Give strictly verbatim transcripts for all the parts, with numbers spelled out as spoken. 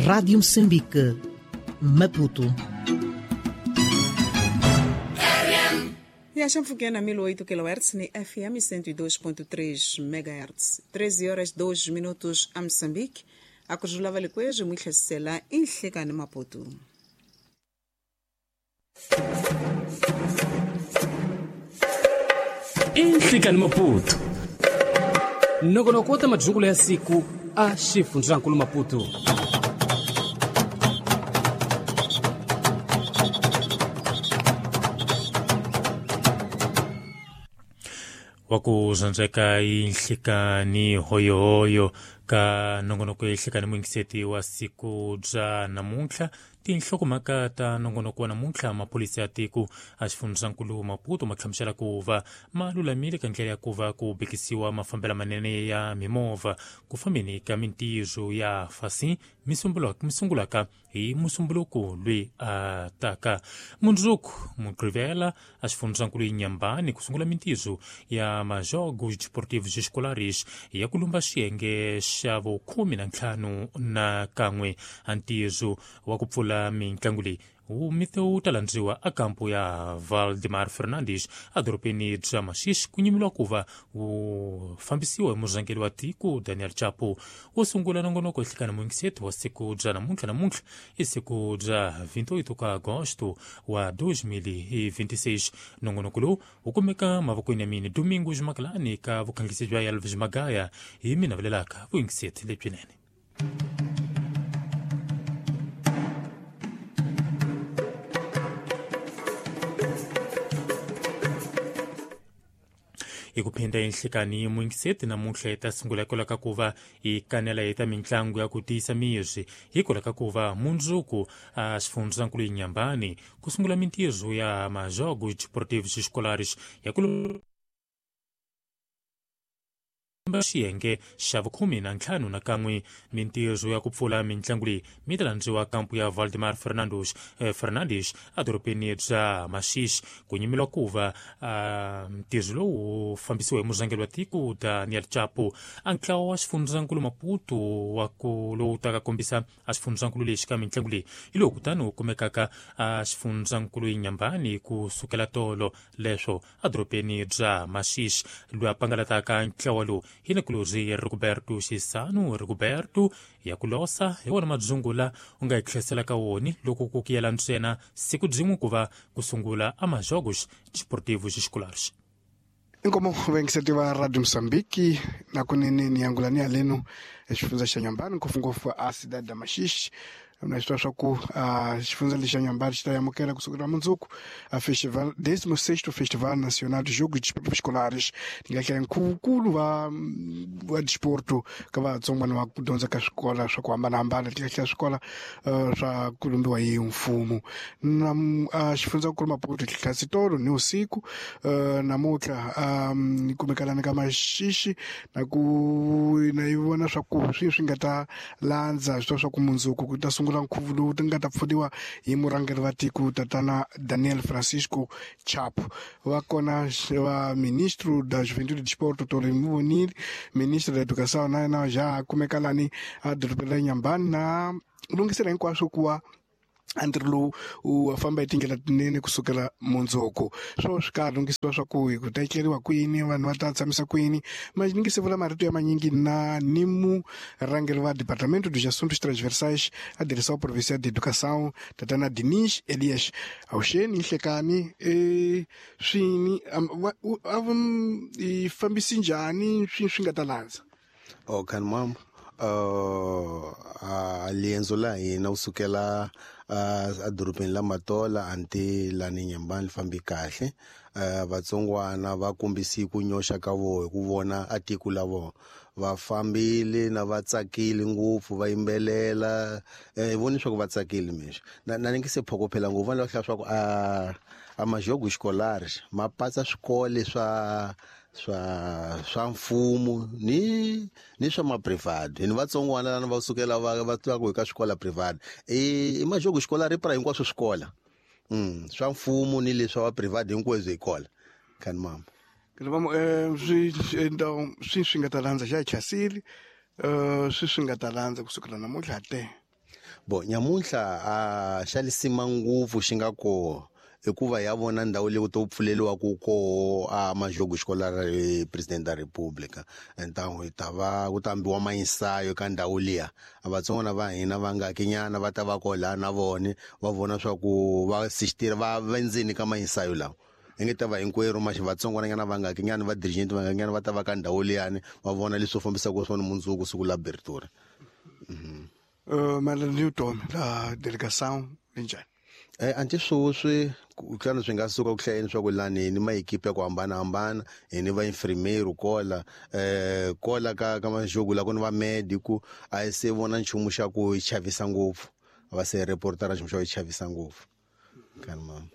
Rádio Moçambique, Maputo. E a Chanfuquena mil e oito quilohertz ni F M cento e dois ponto três megahertz. treze horas dois minutos a Moçambique. A Cruzulava Liquejo, Muichacela, em Chegane Maputo. Em Maputo. Nogonokota majungula ya siku a xifundzhankulu Maputo. Wakuzanzeka inhlikani hoyohoyo ka nongonoko inhlikani mwingiseti wa siku bya namuntlha. Tinhlokomhaka ta nongonoko wa namuntlha, maphorisa ya tiko a xifundzankulu Maputo ma hlamusela ku va ma lulamile ka ndlela ya ku va ku bekisiwa mafambelo manene ya mimovha ku fambeni ka mintirho ya fasi mi sungulaka hi musumbuluko loyi a taka. Mundzuku Mugqivela a xifundzankulu Inhambane ku sungula mintirho ya majogos desportivos escolares ya ku lumba xiyenge xa vukhume na ntlhanu na kan'we. A ntirho wa ku pfula mintlangu leyi wu ta landziwa a kampo ya Valdemar Fernandes edorobeni bya Maxixi, ku nyimiwa ku va wu fambisiwa hi murhangeri wa tiko Daniel Chapo. Wo sungula nongonoko ehlekana muyingiseti wa siku bya namuntlha. Namuntlha i siku bya vinte e oito ka agosto wa dois mil e vinte e seis. Nongonoko lowu wu kumeka mavokweni ya mina Domingos Makalani ka vukhangisi bya Elvis Magaya hi mina vulelaka vuyingiseti lebyinene. Hi ku phinda enhlekani muyingiseti namuntlha hi ta sungula hikwalaho ka ku va hi kanela hi ta mitlangu ya ku tiyisa miri hikwalaho ka ku va mundzuku a xifundzankulu Inhambane ku sungula mintirho ya majogos desportivos escolares ya ku xiyenge xa vukhume na ntlhanu na kan'we. Mintirho ya ku pfula mintlangu leyi mi ta landziwa kampu ya Valdemar Fernandes eh, Fernandes edorobeni bya Maxixi, ku nyimiwa ku va ntirho lowu wu fambisiwa hi murhangeri wa tiko Daniel Chapo. A ntlawa wa xifundzankulu Maputo wa ku lowu taka kombisa a xifundzankulu lexi ka mintlangu leyi hi lowu kutani wu kumekaka a xifundzankulu Inhambane ku sukela tolo leswo edorobeni bya Maxixi. Loyi a pangalataka ntlawa lowu hi Nicolás Rigoberto Xisano Rigoberto ya ku losa hi wona madzungula u nga hi tlheselaka woni loko ku kuyela ntsena siku byin'we ku va ku sungula a majogos desportivos escolares. Inkomo vayingiseti va Radio Moçambique na kunene ni yangulani ya leno exifundza xa Inhambane, ngopfungopfu a cidade da Maxixi. Na swi swa ku xifundza lexi xa Inhambane xi ta amukela kusukela mundzuku a festival décimo sexto Festival Nacional de Jogos Desportivos Escolares. Ni nga hlaya nkhuvunkulu wa wa desporto ka vatsongwana va ku dyondza ka swikolo swa ku hambanahambana, ti nga hlaya swikolo swa ku lumbiwa hi mfumo. Na xifundzankulu Maputo tlhasi tolo ni usiku namuntlha ni kumekalani ka Maxixi na ku na yi vona swa ku swi swi nga ta landza swi swa ku mundzuku ku ta sungula nkhuvo lowu ti nga ta pfuniwa hi murhangeri wa tiko tatana Daniel Francisco Chapo. Va kona va ministro da Juventude e Desporto Tore Muvonile, ministro da Educação na yena ja kumeka lani a dorobeni ra Inhambane na lunghisela hinkwaswo ku va a ntirho lowu wu famba hi tindlela tinene kusukela mundzuku. Swo swi karhi lunghisiwa swa ku hi ku ta etleriwa kwini, vanhu va ta tshamisa kwini. Ma ni nge se vula marito ya manyingi na ni murhangeri wa Departamento dos Assuntos Transversais a Direção Provincial de Educação tatana Dinis Elias. Avuxeni nhlekani e swini a i fambisi njhani swi swi nga ta landza? Oh kan mam uh a liendzo la hina wu sukela a dorobeni la Matola anti lani Inhambane li fambi kahle. Uh, vatsongwana va kombisi ku nyoxa ka vona hi ku vona a tiko la vona va fambile na va tsakile ngopfu va yimbelela eh voni swa ku va tsakile mixo na na ni nge se phokophela ngopfu va hlaya swa ku a a majogo escolares ma patsa swikole swa swa swa mfumo ni ni swa ma private ni vatsongwana lana va sukela va va twa ku ka swikola private e i majogo escolar pra hinkwaswo swikola mm swa mfumo ni leswa wa private hinkwaswo hi kola kan mama Vamo eh swi swi swi nga ta landza xa chasili eh swi swi nga ta landza kusukela namuntlha te. Bo nyamuntlha a xa lisima ngopfu xi nga koho hikuva ya vona ndhawu leyi ku to pfuleliwaku koho a majogo escolar president da república. Então hi ta va ku ta ambiwa mainsayo ka ndhawu liya, a vatsongwana va hina va nga kinyana va ta va koho laha na vone va vona swa ku va assistira va va ndzeni ka mainsayo lawa. Hi nge ta va hinkwerhu maxi vatsongwananyana va nga kinyana va dirigent va nga kinyana va ta va ka ndhawu liyani va vona leswi fambisaka swona mundzuku siku la abertura. Mhm. Uh, Madam Newton, la delegação linjani? Eh anti sweswi ku tlhela swi nga suka ku hlayeni swa ku lani ni maekipe ya ku hambanahambana hi ni va infirmeiro kola eh kola ka ka majogo la ku ni va medico a hi se vona nchumu xa ku chavisa ngopfu va se reportara nchumu xa ku chavisa ngopfu kan mama.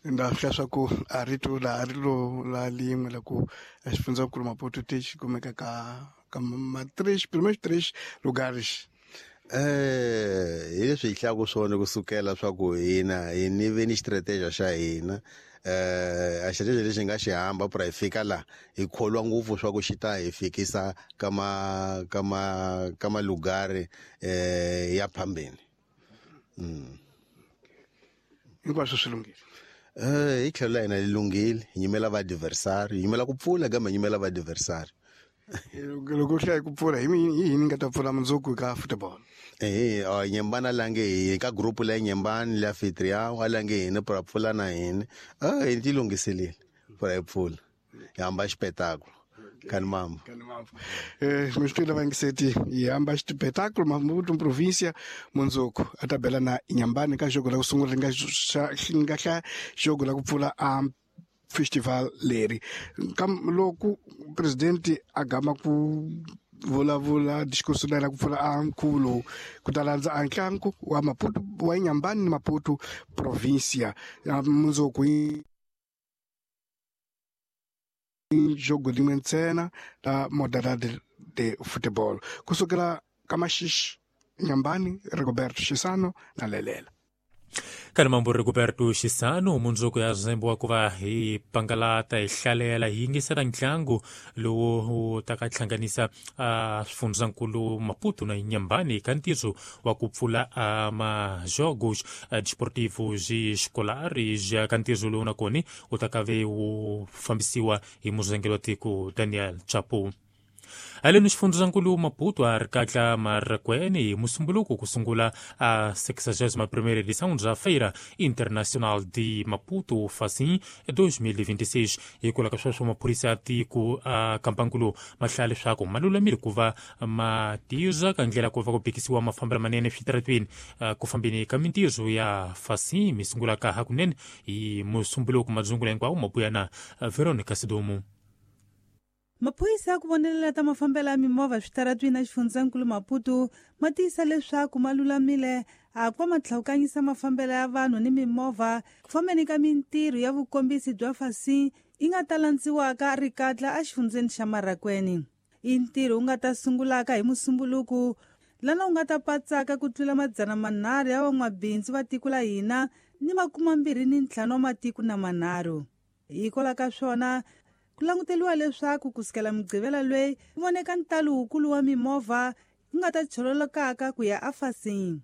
Nda fika swa ku a rito la a ri lo la lin'we la ku xifundzankulu Maputo ti xi kumeka ka ka ma três primeiros três lugares. Eh hi leswi hi hlaku swona kusukela swa ku hina hi ni ve ni strategy xa hina eh a strategy lexi nga xi hamba pra hi fika la hi kholwa ngopfu swa ku xi ta hi fikisa ka ma ka ma ka malugari eh ya phambeni. Mm. Hinkwaswo swi lunghile. Eh hi tlhelo la hina li lunghile, hi nyimela va adversary, hi nyimela ku pfula kambe hi nyimela va adversary. Loko hlaya ku pfula hi yini nga ta pfula mundzuku ka football? Eh eh Nyembana lange hi ka group la Nyembani la anfitrião a lange hina pra pfula na hina. Ah hi ti lunghiselile pra hi pfula. Hi hamba espetáculo. Kan mambo. Kan mambo. Eh mi swi tiva ngiseti hi hamba espetáculo Maputo província mundzuku a tabela na Nyambani ka jogo la ku sungula nga nga hla jogo la ku pfula a festival leri. Kam loko presidente a gama ku vulavula discurso la ku pfula a nkhuvo lowu ku ta landza a ntlangu wa Maputo wa Nyambani ni Maputo província mundzuku jogo rin'we ntsena la modalidade de futebol kusukela ka Maxixe Nyambani Rigoberto Xisano na Lelela. Kana mambo Rigoberto Xisano mundzuku ya zembo wa ku va hi pangalata hi hlalela hi yingisela ntlangu lowu wu ta ka hlanganisa a swifundzankulu Maputo na Nyambani ka ntirho wa ku pfula a majogos desportivos escolares ka ntirho lowu nakona wu ta ka ve wu fambisiwa hi murhangeri wa tiko Daniel Chapo. Aleno xifundzankulu Maputo a ri katla Marraquene hi Musumbuluku ku sungula a sexagésima primeira edição da Feira Internacional de Maputo Facim dois mil e vinte e seis. Hikwalaho ka sweswo maphorisa ya tiko a kampankulu ma hlaya leswaku ma lulamile ku va ma tirha ka ndlela ku va ku bikisiwa mafambelo manene eswitarateni ku fambeni ka mintirho ya Facim mi sungulaka hakunene hi Musumbuluku. Madzungula hinkwawo ma buya na Veronica Sidomu. Maphorisa ya ku vonelela ta mafambelo ya mimovha switaratwini a xifundzankulu Maputo ma tiyisa leswaku ma lulamile a ku va ma tlhawukanyisa mafambelo ya vanhu ni mimovha ku fambeni ka mintirho ya vukombisi bya Facim yi nga ta landziwaka rikatla exifundzeni xa Marraquene. I ntirho wu nga ta sungulaka hi Musumbuluku lana wu nga ta patsaka ku tlula madzana manharhu ya van'wabindzu va tiko la hina ni makumambirhi ni ntlhanu wa matiko na manharhu. Hikwalaho ka swona ku languteriwa leswaku kusukela Mugqivela loyi ku voneka ntalo wukulu wa mimovha yi nga ta chololokaka ku ya aFacim.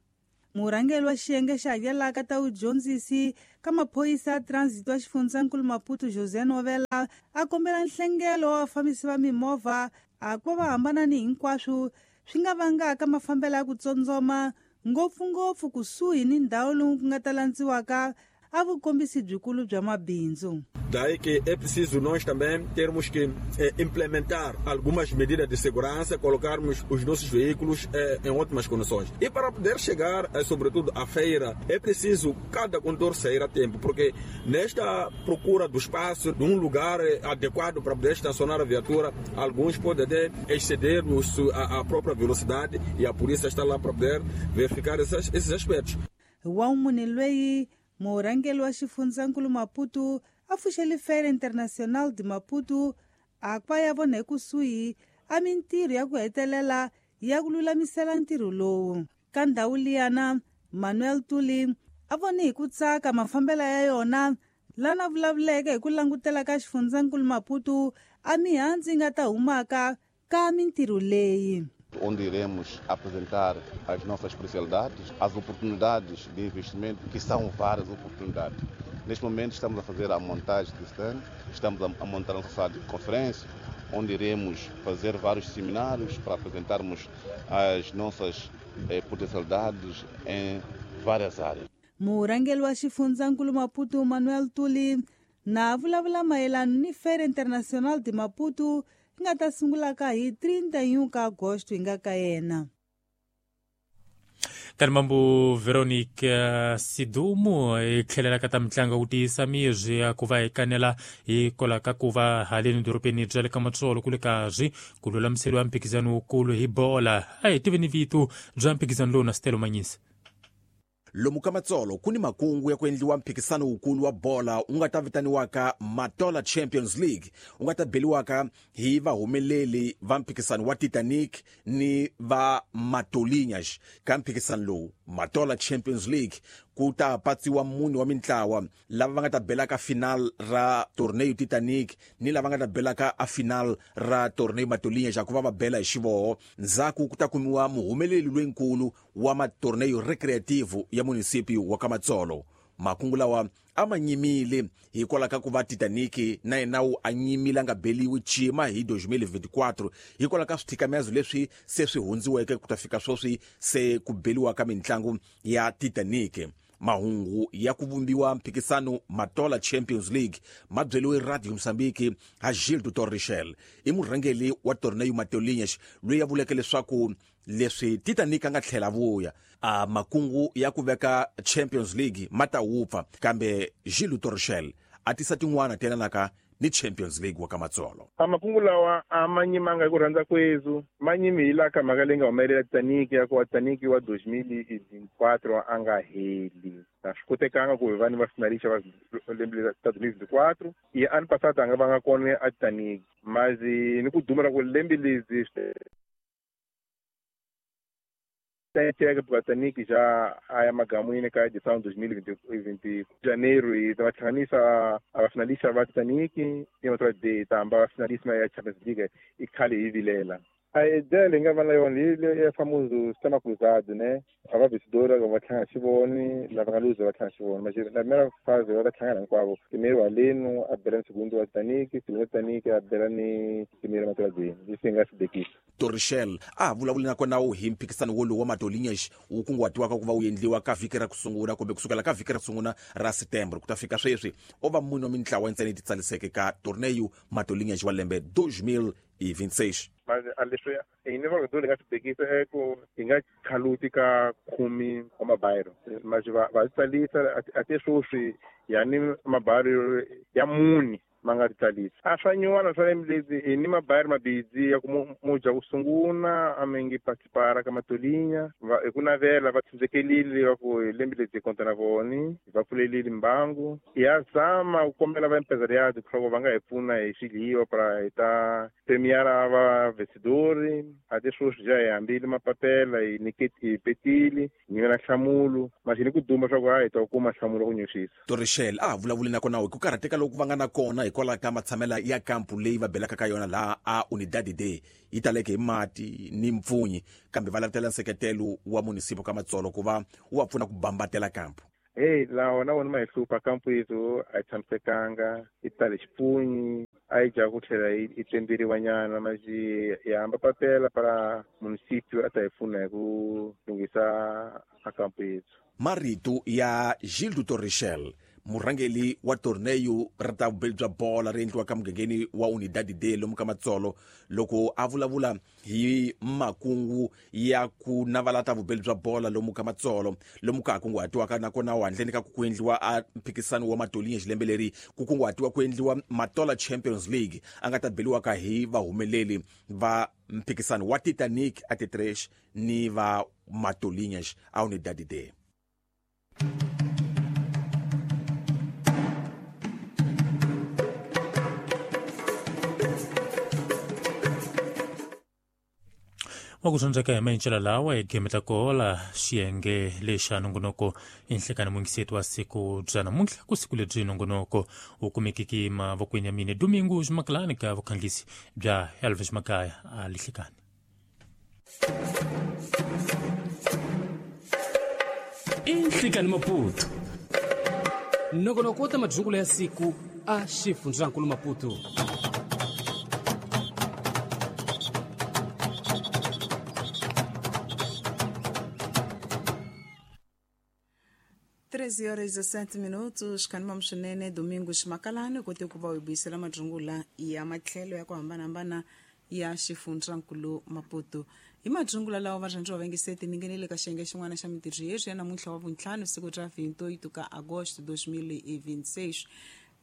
Murhangeri wa xiyenge xa hakelaka ta vudyondzisi ka maphorisa ya transit wa xifundzankulu Maputo José Novela a kombela nhlengelo wa vafambisi va mimovha a ku va va hambana ni hinkwaswo swi nga vangaka mafambelo ya ku tsondzoma ngopfungopfu kusuhi ni ndhawu lowu ku nga ta landziwaka a vukombisi byikulu bya mabindzu. Daí que é preciso nós também termos que eh, implementar algumas medidas de segurança, colocarmos os nossos veículos eh, em ótimas condições. E para poder chegar, eh, sobretudo, à feira, é preciso cada condutor sair a tempo, porque nesta procura do espaço, de um lugar eh, adequado para poder estacionar a viatura, alguns podem até exceder os, a, a própria velocidade e a polícia está lá para poder verificar esses, esses aspectos. Wa munhu loyi murhangeri wa xifundzankulu Maputo a pfuxele Feira Internacional de Maputo a ku va ya vona ekusuhi a mintirho ya ku hetelela ya ku lulamisela ntirho lowu. Ka ndhawu liyana Manuel Tuli a vone hi ku tsaka mafambelo ya yona lana vulavuleke hi ku langutela ka xifundzankulu Maputo a mihandzu yi nga ta humaka ka mintirho leyi. Onde iremos apresentar as nossas especialidades, as oportunidades de investimento, que são várias oportunidades. Neste momento estamos a fazer a montagem de stand, estamos a montar uma sala de conferência, onde iremos fazer vários seminários para apresentarmos as nossas eh, potencialidades em várias áreas. Murhangeri wa xifundzankulu Maputo Manuel Tuli na vulavula mayelana ni Feira Internacional de Maputo yi nga ta sungulaka hi trinta e um ka agosto hi nga ka yena. Kanimambu Veronica Sidumo hi tlhelela ka ta mitlangu ku tiyisa mizwi ya ku va hi kanela hikwalaho ka ku va haleni dorobeni bya le ka Matsolo ku le karhi ku lulamiseriwa mphikizano wukulu hi bola. A hi tiveni vito bya mphikizano lowu na Stelo Manyisa. Lomu ka Matsolo ku ni makungu ya ku endliwa mphikisano wukulu wa bola wu nga ta vitaniwaka Matola Champions League, wu nga ta beliwaka hi vahumeleli va mphikisano wa Titanic ni va Matolinhas. Ka mphikisano lowu Matola Champions League ku ta patsiwa mune wa mintlawa lava va nga ta belaka final ra torneo Titanic ni lava nga ta belaka a final ra torneo Matolinhas, ku va va bela hi xivoho. Ndzhaku ku ta kumiwa muhumeleli loyinkulu wa matorneo recreativo ya munisipio wa ka Matsolo. Makungu lawa a ma nyimile hikwalaho ka ku va Titanic na yena wu a nyimile a nga beliwi cima hi dois mil e vinte e quatro hikwalaho ka swithikamezo leswi se swi hundziweke ku ta fika sweswi se ku beliwa ka mintlangu ya Titanic. Mahungu ya ku vumbiwa mphikisano Matola Champions League ma byeliwe Radio Mozambique ha Gildo Torrichel, i murhangeri wa torneo Matolinhas loyi a vuleke leswaku leswi Titanic a nga tlhela vuya a makungu ya ku veka Champions League ma ta wupfa, kambe Gildo Torrichel a tisa tin'wana ti yelanaka ni Champions League wa ka Matsolo. A makungu lawa a ma nyimanga hi ku rhandza kwezu, ma nyimi hi laha ka mhaka leyi nga humelela Titanic ya ku wa Titanic wa dois mil e vinte e quatro a nga heli. A swi kotekanga ku hi vanhu va finalista va lembe ta dois mil e vinte e quatro i ano passado a nga va nga kona a Titanic, mas ni ku duma ra ku lembe lezi Titanic Titanic já a magamwini ka edição dois mil e vinte e janeiro e va hlanganisa a finalista va Titanic e outra de tamba finalista ya Champions League e khale hi vilela. A ideia leyi nga va na yona hi ya famoso sistema cruzado, né? A va vencedora va tlhanga xivoni, lava nga luza va tlhanga xivoni. Mas na primeira fase va ta tlhangana hinkwavo. Primeiro Aleno a bela ni segundo wa Titanic, segundo Titanic a bela ni primeiro Matoladini. Leswi hi nga swi bekisa. Torrichel a vulavuli na kona wu hi mphikisano wolowu wa Matolinhas wu kunguhatiwaka ku va wu endliwa ka vhiki ra ku sungula kumbe kusukela ka vhiki ra ku sungula ra Setembro ku ta fika sweswi o va mune wa mintlawa ntsena yi titsaliseke ka torneo Matolinhas wa lembe dois mil e vinte e seis. Mas a leswi hi ni va nga swi bekisa i ku hi nga khaluti ka khume wa mabayiro, mas va va tsalisa a te sweswi ya ni mabayiro ya mune ma nga titsalisa. A swa nyuwana swa lembe hi ni mabayiro mabidzi ya ku muja ku sungula a mi ngi participara ka Matolinha va hi ku navela va tshembekile va ku hi lembe lebyi hi konta na voni va pfulelile mbangu. Ya zama ku kombela va empresariado leswaku va nga hi pfuna hi swidliwa para hi ta premiara va vencedori. A te sweswi ja hi hambile mapapela hi nyiketi hi petile hi nyikela nhlamulo mas hi ni ku duma swa ku a hi ta kuma nhlamulo ku nyuxisa. Torrichel a vulavuli na kona hi ku karhateka loku va nga na kona hikwalaho ka matshamela ya kampu leyi va belaka ka yona laha a Unidade D yi taleke hi mati ni mpfunyi, kambe va lavutela nseketelo wa munisipo ka Matsolo ku va wu va pfuna ku bambatela kampu. Hey, lawa na wona ma hi hlupha kampu yethu a yi tshamisekanga, yi tale xipunyi, a yi dya ku tlhela yi temberiwa nyana, mas hi hamba papela para munisipio a ta hi pfuna hi ku lunghisa a kampu yethu. Marito ya Gildo Torrichel, murhangeri wa torneo ra ta vubeli bya bola ri endliwaka mugangeni wa Unidade D lomu ka Matsolo, loko a vulavula hi makungu ya ku navala ta vubeli bya bola lomu ka Matsolo lomu ka ha kunguhatiwaka nakona handleni ka ku ku endliwa a mphikisano wa Matolinhas lembe leri ku kunguhatiwa ku endliwa Matola Champions League a nga ta beliwaka hi vahumeleli va mphikisano wa Titanic a Tetresh ni va Matolinhas a Unidade D. Wa ku dyondzeka hi mayincela lawa hi game ta kola xiyenge lexa nongonoko i nhlekani mungiseti wa siku bya namuntlha ku siku lebyi nongonoko wu kumekiki mavokweni ya mine Domingo Ximakalani ka vukhanglisi bya Elvis Makaya a lihlekani. I Nhlikani Maputo nongonoko wo ta madzungulo ya siku a xifundzankulu Maputo. treze horas e dezessete minutos, kanima mxinene Domingos Makalani kote ku va u buyisela madzungula ya matlhelo ya ku hambanahambana ya xifundzankulu Maputo. Hi madzungula lawa varhandzi va vengiseti ni ngenele ka xiyenge xin'wana xa mintirho yeswi ya namuntlha wa vuntlhanu siku ra vinte e oito ka agosto dois mil e vinte e seis.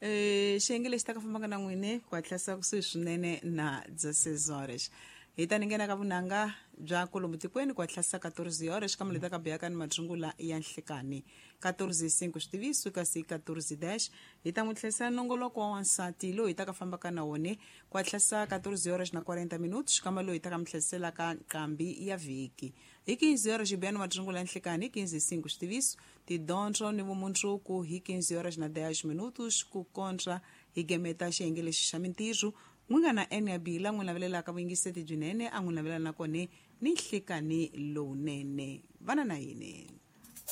Eh, xiyenge lexi ta ka fambaka na n'wini ku hatlisa kusuhi swinene na dezesseis horas. Hi ta ni nghena ka vunanga bya kolomu tikweni ku hatlisa quatorze horas ka muleta ka beyaka ni madzungula ya nhlikani quatorze e cinco switiviso kasi quatorze e dez hi ta n'wi tlherisa nongoloko wa wansati loyi hi ta ka fambaka na wona ku hatlisa quatorze horas na quarenta minutos kamba loyi hi ta ka mi tlherisela ka nqambi ya vhiki hi quinze horas hi beya ni madzungula ya nhlikani hi quinze e cinco switiviso tidyondzo ni vumundzuku hi quinze horas na dez minutos ku kontra hi gemeta xiyenge lexi xa mintirho n'wi nga na N ya Bila n'wi navelelaka vuyingiseti byinene a n'wi navelela na kone ni nhlikani lowunene vana na yini.